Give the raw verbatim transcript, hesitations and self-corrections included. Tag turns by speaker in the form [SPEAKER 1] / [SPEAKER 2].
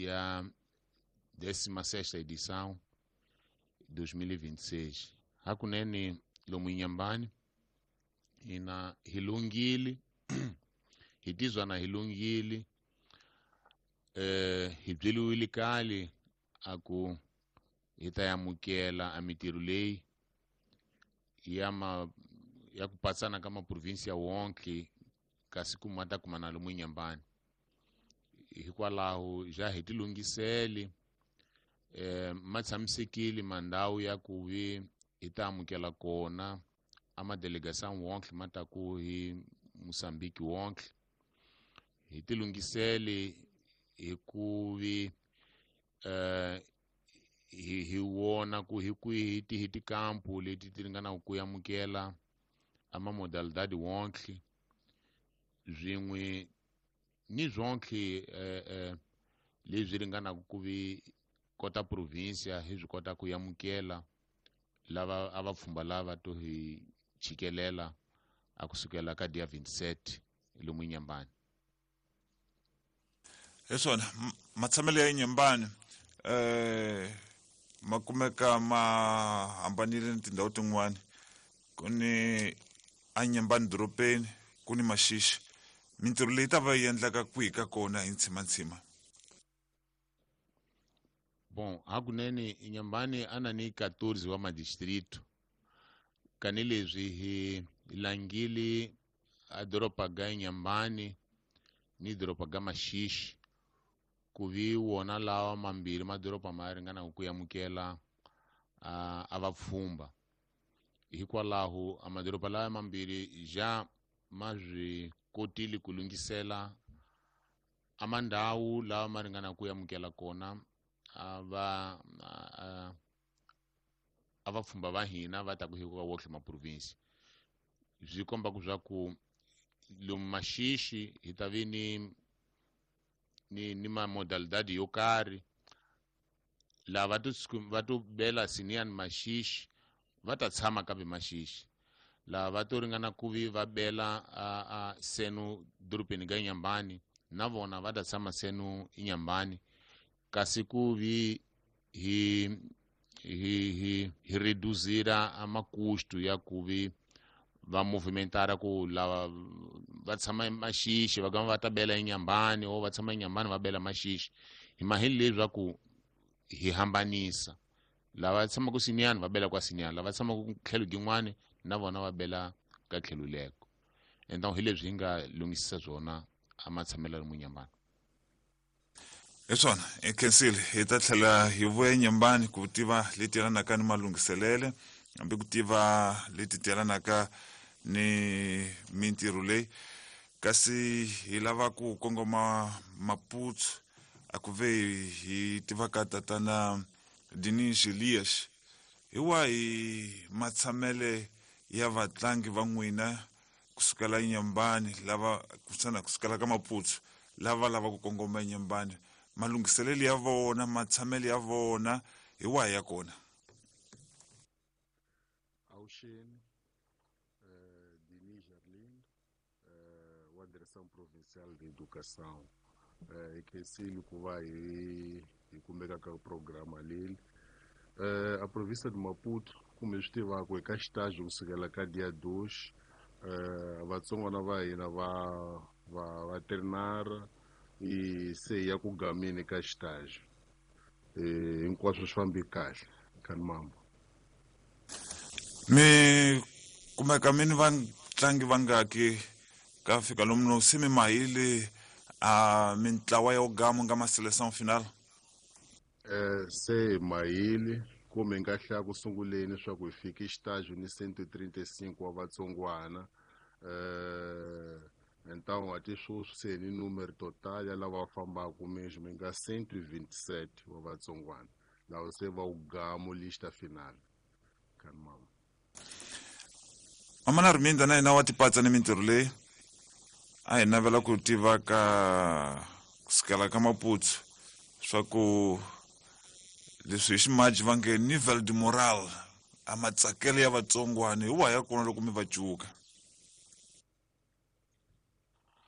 [SPEAKER 1] ya décima sexta edição dois mil e vinte e seis. Hakunene lomu Inhambane hina hi lunghile, hi tizwa na hi lunghile, eh, hi byeliwile kale a ku hi ta amukela a mitirho leyi ya ma, ya ku patsana ka maprovinsia wonke kasi ku ma ta kuma na lomu Inhambane. Hikwalaho ja hi tilunghisele, eh, ma tshamisekile mandhawu ya ku vi hi ta amukela kona a madelegação wonke ma ta ku hi Moçambique wonke. Hi tilunghisele hi ku vi, eh, hi, hi vona ku hi kwihi ti hi tikampu leti ti ringanaka ku amukela a ma modalidade wonke swin'we ni swonke, eh, eh, leswi ringanaka ku vi kota provinsia hi swi kota ku amukela lava a va pfhumba lava to hi chikelela a kusukela ka dia vinte e sete lomu Inhambane.
[SPEAKER 2] Hi swona matshamelo ya Inhambane, eh, ma kumeka ma hambanile ni tindhawu tin'wani. Ku ni Inhambane dorobeni, ku ni Maxixi. Mintirho leyi ta va yi endlaka kwihi ka kona hi ntshima-ntshima?
[SPEAKER 1] Bom, hakunene Inhambane a na ni quatorze wa madistrito. Kanileswi hi langile a doroba ga Inhambane ni doroba ga Maxixi ku vi wona lawa mambirhi madoroba ma ringanaka ku amukela a, a vapfhumba. Hikwalaho a madoroba lawa mambirhi ja ma swi kotile ku lunghisela a mandhawu lawa ma ringanaka ku amukela kona a va, a, a vapfhumba va hina va ta ku hi ka wohle ma province. Swi komba ku swa ku lomu Maxixi hi ta vi ni, ni, ni ma modalidade yo karhi. Lava to va to bela Sinian Maxixi va ta tshama kambe Maxixi. Lava va to ringana ku vi va bela a, a seno dorobeni ga Inhambane na vona va ta tshama seno Inhambane. Kasi ku vi hi, hi, hi, hi reduzira a makusto ya ku vi va movimentara ku lava va tshama Maxixi va gama va ta bela Inhambane o va tshama Inhambane va bela Maxixi. Hi maheli leswaku hi hambanisa lava tshamaka Sinian va bela kwa Sinian, lava tshamaka tlhelo gin'wani na vona va bela ka tlhelo leko. Então hi leswi hi nga lunghisisa swona a matshamelo ya Inhambane.
[SPEAKER 2] Hi swona, hi khensile. Hi ta tlhela hi vuya Inhambane ku tiva leti yelanaka ni malunghiselele, hambi ku tiva leti ti yelanaka ni mintirho leyi. Kasi hi lava ku kongoma Maputo, a ku ve hi tiva ka tatana Dinis Elias. Hi wahi matshamele ya vatlangi va n'wina kusukela Inhambane lava kutsana kusukela ka Maputo lava lava ku kongoma Inhambane, malunghiselelo ya vona, matshamelo ya vona hi wahi ya kona?
[SPEAKER 3] Avuxeni, eh, Dinis Arlindo, eh, wa Direção Provincial de Educação. Eh, hi khensile ku va hi, hi kumeka ka programa leyi. Eh, a província de Maputo, kumbe swi tivaka, hi ka xitaji kusukela ka dia dois, eh, vatsongwana va hina va, va, va trinara i se ya ku gameni ka xitaji. Eh, hinkwaswo swi fambi kahle ka mambo.
[SPEAKER 2] Mi kumeka mi ni vatlangi vangaki ka fika lomu no se mi mahile a mintlawa ya gamo nga ma seleção final?
[SPEAKER 3] Eh, se mahile kumbe nga hlaya ku sunguleni swa ku hi fike xitaji ni cento e trinta e cinco wa vatsongwana. Eh, então até sweswi se ni número total ya lava fambaka mesmo nga cento e vinte e sete wa vatsongwana lava se va wu gamo lista final. Kan mama.
[SPEAKER 2] Mama na Arminda na yena wa tipatsa ni mintirho leyi a hi navela ku tiva ka kusukela ka Maputo swa ku leswi hi ximaji va nge nivel de moral a matsakelo ya vatsongwana hi wahi ya kona loko mi va cuka?